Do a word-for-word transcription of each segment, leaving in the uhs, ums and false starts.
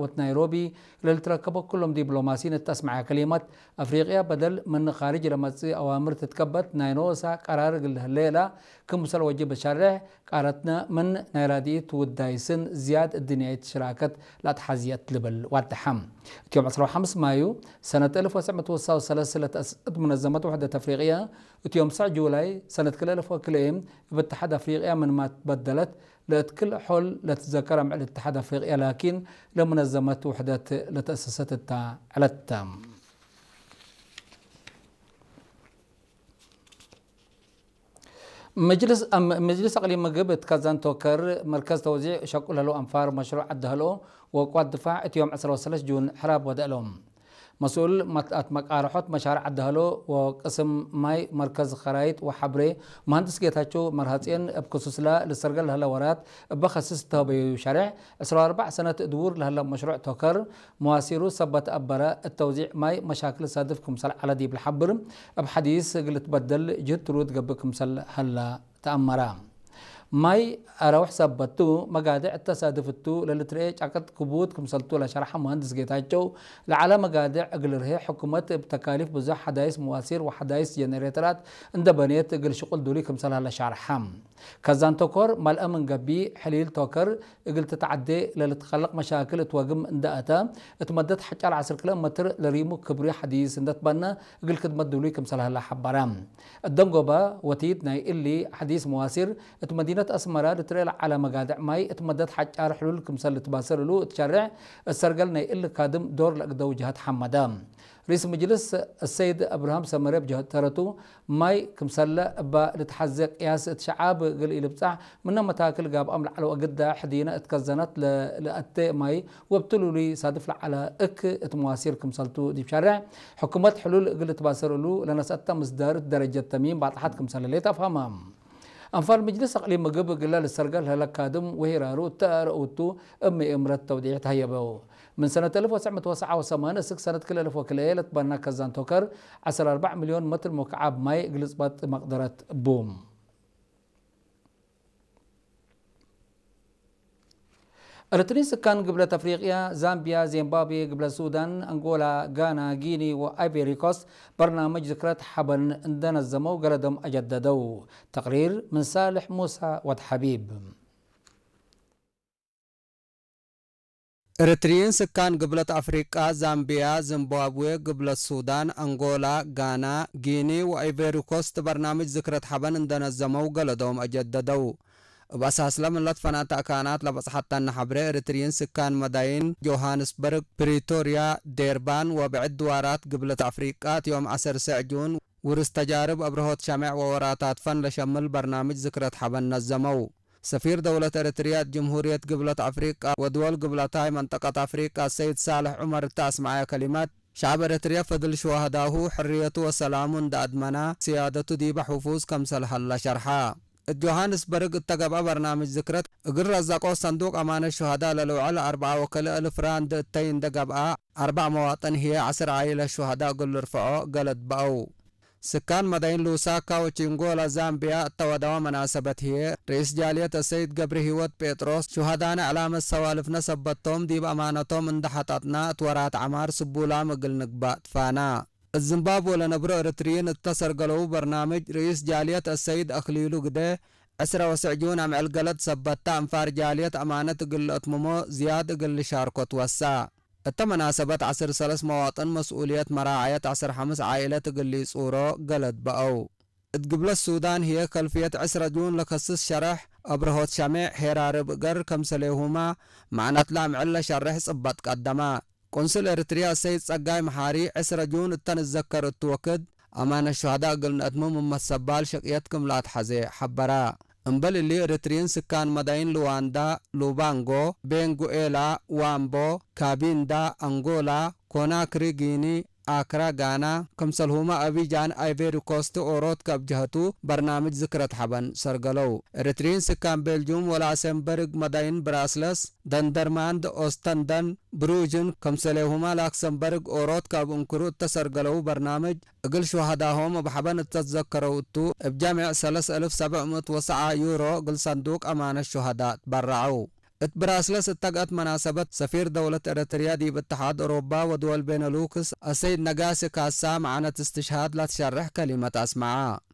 ወናይሮቢ ለልትረከቦ ኩሎም ዲፕሎማሲን እት አስመዐ ከሊመት፣ አፍሪቅያ በደል ምን ካርጅ ለመጽእ አዋምር ትትከበት ናይ ኖሳ ቀራር እግል ለህሌ እላ ክምሰል ወጅብ ሸሬሕ፣ ቃረትነ ምን ናይ ራድኢት ውዳይስን ዝያድ እድንያይት ሽራከት ለአትሐዝየት ልብል ዋደሐ። እት ዮም ዕስራ ወሐምስ ማዩ ሰነት አልፍ ወትሰዕ ምእት ወሰሳ ወሰለስ ለተአሰሰት ሙነዘመት ውሕደት አፍሪቅያ፣ እት ዮም ሰዕ ጁላይ ሰነት ክልኤ አልፍ ወክልኤ እብ እትሓድ አፍሪቅያ ምንማ ትበደለት፣ ለእት ክል ሖል ለትዘከር አምዕል እትሓድ አፍሪቅያ ላኪን፣ ለሙነዘመት ውሕደት ለተአሰሰት እታ ዐለት ተ። መጅልስ፣ አም-፣ መጅልስ አቅሊም ምግብ እት ከዛን ቶከር መርከዝ ተውዚዕ ሸቁ ለህለው አንፋር መሽሩዕ ዐድ ሀሎ ወቅዋት ድፋዕ እት ዮም ዕስራ ወሰለስ ጁን ሕራብ ወደአሎም። መስኡል መት-፣ አትመቃርሖት መሻርዕ ዐድ ሀሎ ወቅስም ማይ መርከዝ ከራይጥ ወሐብሬ መሀንድስ ጌታቸው መርሃጼን እብ ክሱስላ ልሰርገል ለህለ ወራት እበ ከስስ እተሀበዩ ሸሬሕ፣ ዕስራ ወአርበዕ ሰነት ድዉር ለህለ መሽሩዕ ቶከር መዋሲሩ ሰበት አበረ እት ተውዚዕ ማይ መሻክል ሳድፍ ክምሰል ዐለ ዲብ ለሐብር፣ እብ ሐዲስ እግል ልትበደል ጅህድ ትሩድ ገብእ ክምሰል ሀለ ተአመረ። ማይ አረውሕ ሰበት ቱ፣ መጋድዕ እተ ሳድፍ እቱ ለልትርኤ ጫቅጥ ክቡድ ክምሰልቱ ለሸርሐ መሀንድስ ጌታቸው፣ ለዐለ መጋድዕ እግል ርሄ ሕኩመት እብ ተካሊፍ ብዙሕ ሐዳይስ መዋሲር ወሐዳይስ ጀነሬተራት እንደ በኔት እግል ሽቁል ዱሊ ክምሰል ሀለ ሻርሐ። ከዛን ቶኮር መልአ ምን ገብእ፣ ሕሊል ቶከር እግል ትትዐዴ ለልትከለቅ መሻክል እት ወግም እንደ አተ፣ እት መደት ሐጫል ዐስር ኪሎ ሜትር ለሪሙ ክብሪ ሐዲስ እንደ ትበነ እግል ክድመት ዱሉይ ክምሰል ሀለ ሐበረ። እት ደንጎበ ወቲድ ናይ እሊ ሐዲስ መዋሲር፣ እት መዲነት አስመረ ልትርኤ ለዐለ መጋድዕ ማይ እት መደት ሐጫር ሕሉል ክምሰል ልትባሰል እሉ እት ሸሬሕ፣ እት ሰርገል ናይ እሊ ካድም ዶር ለአግደው ጀሀት ሐመደ። ርኢስ ምጅልስ አሰይድ አብርሃም ሰመሬ እብ ጀህት ተረቱ፣ ማይ ክምሰለ እበ ልትሐዜ ቅያስ እት ሸዓብ እግል ኢልብጻሕ፣ ምነ መታክል ጋብአም ለዐለው አግደ ሕዲነ እት ከዘነት ለ-፣ ለአቴ ማይ ወብትሉሉይ ሳድፍ ለዐለ እክ እት መዋሲር ክምሰልቱ ዲብ ሸሬሕ፣ ሕኩመት ሕሉል እግል ልትባሰር እሉ ለነስአተ ምስዳር እት ደረጀት ተሚም ባጽሐት ክምሰለ ሌጠ አፍሀመ። አንፋር ምጅልስ አቅሊም ምግብ እግለ ልሰርገል ለህለ ካድም ወሂራሩ እተ አርአውቱ እብ ምእምረት ተውዲዕ ተህየበው። ምን ሰነት አልፍ ወትሰዕ ምእት ወሰብዓ ወሰማንያ እስክ ሰነት ክልኤ አልፍ ወክልኤ ለትበና ከዛን ቶከር ዐስር አርበዕ ሚልዮን መትር ሙክዓብ ማይ እግል ልጽበጥ መቅደረት ቡ። ኤረትርዪን ስካን ግብለት አፍሪቅያ፣ ዛምቢያ፣ ዚምባብዌ፣ ግብለት ሱዳን፣ አንጎላ፣ ጋና፣ ጊኒ ወአይቬሪ ኮስት በርናምጅ ዝክረት ሐበን እንደ ነዘመው ገለዶም አጀደደው። ተቅሪር ምን ሳልሕ ሙሳ ወድ ሐቢብ። ኤረትርዪን ስካን ግብለት አፍሪቃ፣ ዛምቢያ፣ ዚምባብዌ፣ ግብለት ሱዳን፣ አንጎላ፣ ጋና፣ ጊኒ ወአይቬሪ ኮስት በርናምጅ ዝክረት ሐበን እንደ ነዘመው ገለዶም አጀደደው። እብ አሳስለ ምን ለትፈነተ አካናት ለበጽሐተነ ሐብሬ፣ ኤረትርዪን ስካን መዳይን ጆሃንስበርግ፣ ፕሪቶርያ፣ ዴርባን ወብዕድ ድዋራት ግብለት አፍሪቃ፣ እት ዮም ዐሰር ሰዕ ጁን፣ ውርስ ተጃርብ አብርሆት ሸሜዕ ወወራታት ፈን ለሸምል በርናምጅ ዝክረት ሐበን ነዘመው። ሰፊር ደውለት ኤረትርያ እት ጅምሁርየት ግብለት አፍሪቃ ወድወል ግብለታይ መንጠቀት አፍሪቃ ሰይድ ሳልሕ ዑመር እተ አስመዐየ ከሊመት፣ ሸዐብ ኤረትርያ ፈድል ሹሀዳሁ፣ ሕርየቱ ወሰላሙ እንደ አድመና፣ ስያደቱ ዲበ ሕፉዝ ከምሰል ሀለ ሸርሐ። እት ጆሃንስበርግ እተ ገብአ በርናምጅ ዝክረት፣ እግል ረዘቆ ሰንዱቅ አማነት ሹሀዳ ለልውዕል አርበዓ ወክልኤ እልፍ ራንድ እተይ እንደ ገብአ፣ አርበዕ መዋጥን ህዬ ዐስር ዓኢለት ሹሀዳ እግል ልርፈዖ ገለድ በአው። ስካን መዳይን ሉሳካ ወቺንጎላ ዛምቢያ እተ ወደወ መናሰበት ህዬ፣ ርኢስ ጃልየት አሰይድ ገብረሂወት ጴጥሮስ፣ ሹሀዳነ ዕላመት ሰዋልፍነ ሰበት ቶም፣ ዲብ አማነቶም እንደ ሐጠጥና እት ወራት ዐማር ስቡላም እግል ንግባእ ትፋና። እት ዝምባብወ ለነብሮ ኤረትርዪን እተ ሰርገለው በርናምጅ፣ ርኢስ ጃልየት አሰይድ አክሊሉ ግደ፣ ዕስረ ወሰዕ ጁን አምዕል ገለድ ሰበታ፣ አንፋር ጃልየት አማነት እግል ለአትምሞ ዝያድ እግል ልሻርኮ ትወሳ። እተ መናሰበት ዐስር ሰለስ መዋጥን መስኡልየት መራዐየት ዐስር ሐምስ ዓኢለት እግል ሊጹሮ ገለድ በአው። እት ግብለት ሱዳን ህዬ ከልፍየት ዕስረ ጁን ለከስስ ሸረሕ አብርሆት ሸሜዕ ሄራርብ እገር ከምሰሌሁመ መዕነትለ አምዕል ለሸርሕ ጽበጥ ቀደመ። ቆንስል ኤረትርያ ሰይድ ጸጋይ መሓሪ፣ ዕስረ ጁን እተ ንዘከር እቱ ወክድ፣ አማነት ሹሀዳ እግል ነአትምም እመት ሰባል ሸቅየት ክም ለአትሐዜ ሐበረ። እምበል እሊ፣ ኤረትርዪን ስካን መዳይን ሉዋንዳ፣ ሉባንጎ፣ ቤንጉኤላ፣ ዋምቦ፣ ካቢንዳ፣ አንጎላ፣ ኮናክሪ፣ ጊኒ፣ አክራ፣ ጋና፣ ክምሰልሁመ አቢጃን፣ አይቬሪ ኮስት፣ ኦሮት ከእብ ጀሀቱ በርናምጅ ዝክረት ሐበን ሰርገለው። ኤረትርዪን ስካን ቤልጁም ወላክሰምበርግ መዳይን ብራስለስ፣ ደንደርማንድ፣ ኦስተንደን፣ ብሩጅን፣ ክምሰሌሁመ ላክሰምበርግ ኦሮት ከእብ እንክሩ እተ ሰርገለው በርናምጅ፣ እግል ሹሀዳሆም እብ ሐበን እተ ትዘከረው እቱ፣ እብ ጀሜዕ ሰለስ እልፍ ሰብዕ ምእት ወሰዓ ዩሮ እግል ሰንዱቅ አማነት ሹሀዳ ትበረዐው። እት ብራስለስ እት ተግአት መናሰበት፣ ሰፊር ደውለት ኤረትርያ ዲብ እትሓድ ኦሮባ ወድወል ቤነሉክስ አሰይድ ነጋሲ ካሳ መዓነት እስትሽሃድ ለትሸርሕ ከሊመት አስመዐ።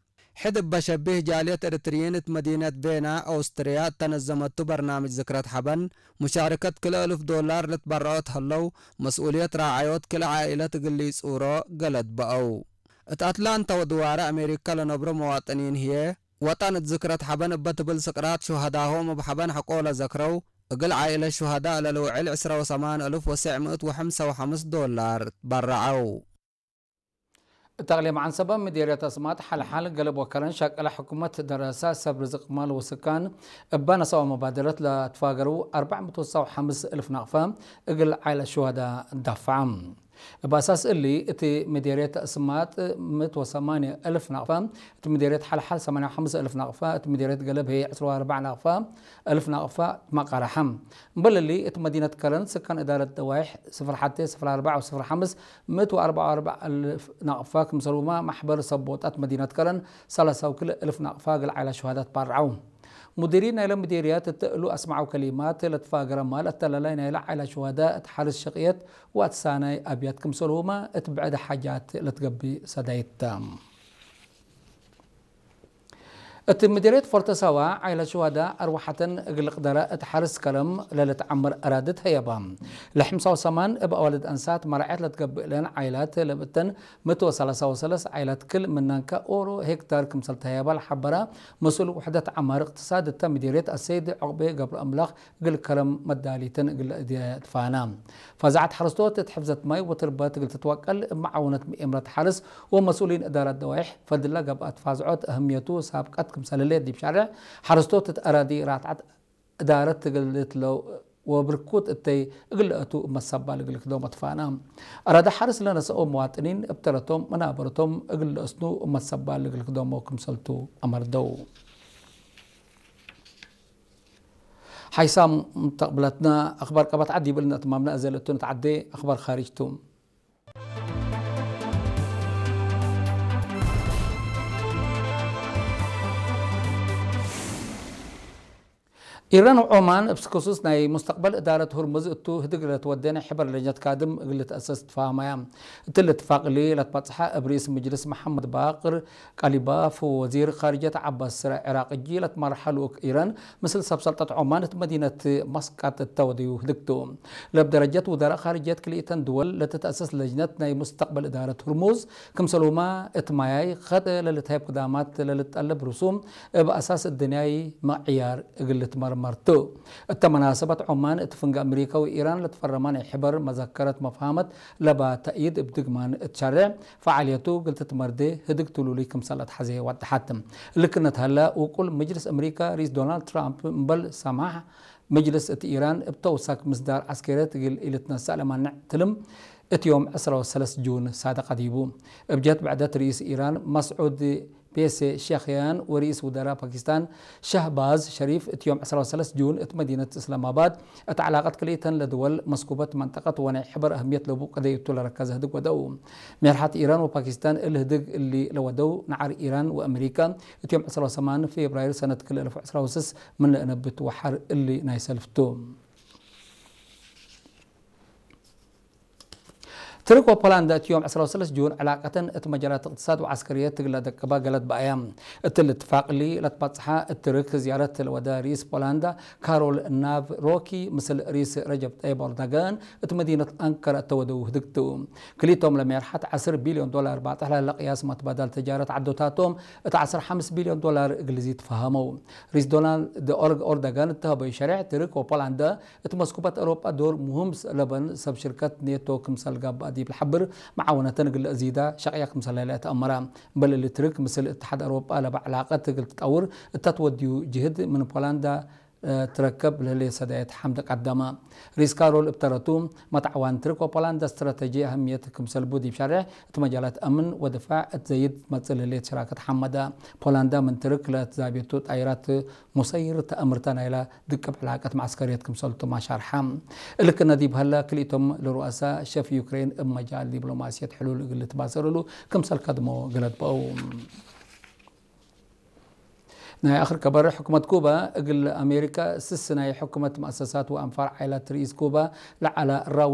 ሕድ እበ ሸቢህ፣ ጃልየት ኤረትርዪን እት መዲነት ቬና፣ ኦስትርያ፣ እተ ነዘመቱ በርናምጅ ዝክረት ሐበን፣ ሙሻርከት ክልኤ እሉፍ ዶላር ልትበረዖት ሀለው፣ መስኡልየት ራዐዮት ክል ዓኢለት እግል ኢጹሮ ገለድ በአው። እት አትላንታ ወድዋረ አሜሪካ ለነብሮ መዋጥኒን ህዬ፣ ወጠን እት ዝክረት ሐበን እበ ትብል ስቅራት ሹሀዳሆም እብ ሐበን ሐቆ ለዘክረው፣ እግል ዓኢለት ሹሀዳእ ለልውዕል ዕስረ ወሰማን እሉፍ ወስዕ ምእት ወሐምሰ ወሐምስ ዶላር ትበረዐው። እት አቅሊም ዐንሰበ ምዴርየት አስማጥ ሐልሐል ገልብ ወከረን ሸቅለ ሕኩመት ደረሰ ሰብ ርዝቅ ማል ወስካን እበ ነሰኦ መባደረት ለትፋገረው አርበዕ ምእት ወሰው ሐምስ እልፍ ናቅፈ እግል ዓኢለት ሹሀዳእ ዳፍዐ። እብ አሳስ እሊ፣ እት ምዴርየት አስማጥ ምእት ወሰማንየ እልፍ ናቅፈ፣ እት ምዴርየት ሐልሐል ሰማንየ ወሐምስ እልፍ ናቅፈ፣ እት ምዴርየት ገልብ ህዬ ዕስራ ወአርበዕ ናቅፈ እልፍ ናቅፈ ትመቃረሐ። እምበል እሊ፣ እት መዲነት ከረን ስካን እዳረት ደዋይሕ ስፍር ሐቴ፣ ስፍር አርበዕ ወስፍር ሐምስ ምእት ወአርበዕ ወአርበዕ እልፍ ናቅፈ፣ ክምሰልሁመ መሕበር ሰብ ቦጣት መዲነት ከረን ሰላሳ ወክልኤ እልፍ ናቅፈ እግል ዓኢላት ሹሀዳእ ትባረዐው። ሙዲሪን ናይለ ምዴርያት እት እሉ አስመዐው ከሊማት፣ ለትፋገረ ማል አተላላይ ናይለ ዓኢላት ሹሀዳእ እት ሐርስ ሸቅየት ወአትሳናይ አብያት ክምሰልሁመ እት ብዕድ ሓጃት ለትገብእ ሰዳይት ተ። እት ምዴርየት ፎርተ ሳዋ፣ ዓኢላት ሹሀዳእ አርወሐተን እግል ልቅደረ እት ሐርስ ከረም ለልትዐመር አራዲ ተህየባ። ለሐምሳ ወሰማን እብ አዋልድ አንሳት መራዐየት ለትገብእ እለን ዓኢላት ለብእተን ምእት ወሰላሳ ወሰለስ ዓኢላት ክል ምናን ከኦሮ ሄክታር ክምሰል ተህየባ ለሐበረ መስኡል ውሕደት ዐማር እቅትሳድ እተ ምዴርየት አሰይድ ዑቅቤ ገብረአምላክ እግል ከረም መዳሊትን እግል እዴ ትፋና። ፈዛዐት ሐረስቶት እት ሕፍዘት ማይ ወትርበት እግል ትትወቀል እብ መዓውነት ምኤምረት ሐርስ ወመስኡሊን እዳረት ደዋይሕ ፈድላ ገብአት ፋዝዖት አህምየቱ ሳብቀት ክምሰል ህሌት ዲብ ሻርዕ ሐረስቶት እት አራዲ ራትዐት እዳረት እግል ልትለው ወብርኩት እተይ እግል ለአቱ እብ መሰባል እግል ክዶሞ ትፋና። አራዲ ሐርስ ለነሰኦ መዋጥኒን እብ ተረቶም መናበረቶም እግል ለአስኑ እብ መሰባል እግል ክዶሞ ክምሰልቱ አመርደው። ሓይሳም ተቅብለትና አክባር ቀበት ዐድ ይብል እትማምና እዘ ለእቱ ንትዓዴ አክባር ካሪጅ ቱ። ኢራን ወዖማን እብ ክሱስ ናይ ሙስተቅበል እዳረት ሁርሙዝ እቱ ህድግ ለትወዴ ናይ ሕበር ለጅነት ካድም እግል ልትአሰስ ትፋሀመያ። እትሊ እትፋቅ እሊ ለትበጽሐ እብ ርኢስ ምጅልስ መሐመድ ባቅር ቃሊባፍ ወወዚር ካርጀት ዐባስ ስረ ዕራቅ እጂ ለትመርሐ ልኡክ ኢራን፣ ምስል ሰብ ሰልጠት ዖማን እት መዲነት መስቀጥ እተ ወደዩ ህድግ ቱ። ለእብ ደረጀት ውዘራእ ካርጀት ክልኢተን ድወል ለትትአሰስ ለጅነት ናይ ሙስተቅበል እዳረት ሁርሙዝ፣ ክምሰልሁመ እት ማያይ ኸጥ ለልትሀይብ ክዳማት ለልትጠለብ ርሱም እብ አሳስ እድንያይ መዕያር እግል ልትመርመር ቱ። እተ መናሰበት ዖማን እት ፍንገ አምሪከ ወኢራን ለትፈረመ ናይ ሕበር መዘከረት መፍሀመት ለባ ተእይድ እብ ድግማን እት ሸሬዕ ፈዓልየቱ እግል ትትመርዴ ህድግ ትሉሉይ ክምሰል አትሐዜ ወደሐት። እሊ ክነት ሀለ፣ ውቁል ምጅልስ አምሪከ ርኢስ ዶናልድ ትራምፕ እምበል ሰማሕ ምጅልስ እት ኢራን እብ ተውሳክ ምስዳር ዐስከርየት እግል ኢልትነሰእ ለማንዕ ትልም እት ዮም ዕስራ ወሰለስ ጁን ሳደቀ ዲቡ። እብ ጀህት ብዕደት ርኢስ ኢራን መስዑድ ፔሴሽክያን ወርኢስ ውዘራእ ፓኪስታን ሸህባዝ ሸሪፍ እት ዮም ዕስራ ወሰለስ ጁን እት መዲነት እስላማባድ እት ዐላቀት ክልኢተን ለድወል መስኩበት መንጠቀት ወናይ ሕበር አህምየት ለቡ ቀደይ እቱ ለረከዘ ህድግ ወደው። ሜርሐት ኢራን ወፓኪስታን እሊ ህድግ እሊ ለወደው ነዓር ኢራን ወአምሪካ እት ዮም ዕስራ ወሰማን ፌብራይር ሰነት ክልኤ አልፍ ወዕስራ ወስስ ምን ለእነብት ወሐር እሊ ናይ ሰልፍ ቱ። ትርክ ወፖላንዳ እት ዮም ዕስራ ወሰለስ ጁን ዕላቀተን እት መጃላት እቅትሳድ ወዐስከርየት እግል ለደቅባ ገለድ በአያ። እትሊ እትፋቅ እሊ ለትባጽሐ እት ትርክ ዝያረት ለወደ ርኢስ ፖላንዳ ካሮል ናቭሮኪ ምስል ርኢስ ረጀብ ጠይብ ኤርዶጋን እት መዲነት አንከረ እተ ወደው ህድግ ቱ። ክልኢቶም ለሜርሐት ዐስር ቢልዮን ዶላር ባጽሕ ለህለ ቅያስ መትባዳል ተጃረት ዐዶታቶም እት ዐስር ሐምስ ቢልዮን ዶላር እግል ዚድ ተፋሀመው። ርኢስ ዶናልድ ኤርዶጋን እተ ሀበዩ ሸሬሕ ትርክ ወፖላንዳ እት መስኩበት አውሮጳ ዶር ሙህም ለበን ሰብ ሽርከት ኔቶ ክምሰል ጋብአ ዲብ ለሐብር፣ መዓወነተን እግል ለአዚዳ ሸቅያ ክምሰል ለህለ ተአመረ። እምበል እሊ ትርክ ምስል እትሓድ አውሮጳ ለበ ዕላቀት እግል ትጠውር እተ ትወድዩ ጅህድ ምን ፖላንዳ ትረከብ ለህሌት ሰዳየት ሐምደ ቀደመ። ርኢስ ካሮል እብ ተረቱ፣ መትዓዋን ትርክ ወፖላንዳ እስትራተጂ አህምየት ክምሰል ቡ ዲብ ሸሬሕ እት መጃላት አምን ወድፋዕ እት ዘይድ መጽእ ለህሌት ሸራከት ሐመደ። ፖላንዳ ምን ትርክ ለትዛቤቱ ጣይራት ሙሰይር ተአምርተ ናይለ ድቅብ ዕላቀት መዐስከርየት ክምሰልቱመ ሸርሐ። እሊ ክነ ዲብ ሀለ፣ ክልኢቶም ለሩአሳ ሸፍ ዩክሬን እብ መጃል ዲፕሎማስየት ሕሉል እግል ልትባሰር እሉ ክምሰል ከድሞ ገለድ በአው። ናይ አክር ከበር፣ ሕኩመት ኩባ እግል አሜሪካ ስስ ናይ ሕኩመት፣ መአሰሳት ወአንፋር ዓኢላት ርኢስ ኩባ ለዐለ ራዊ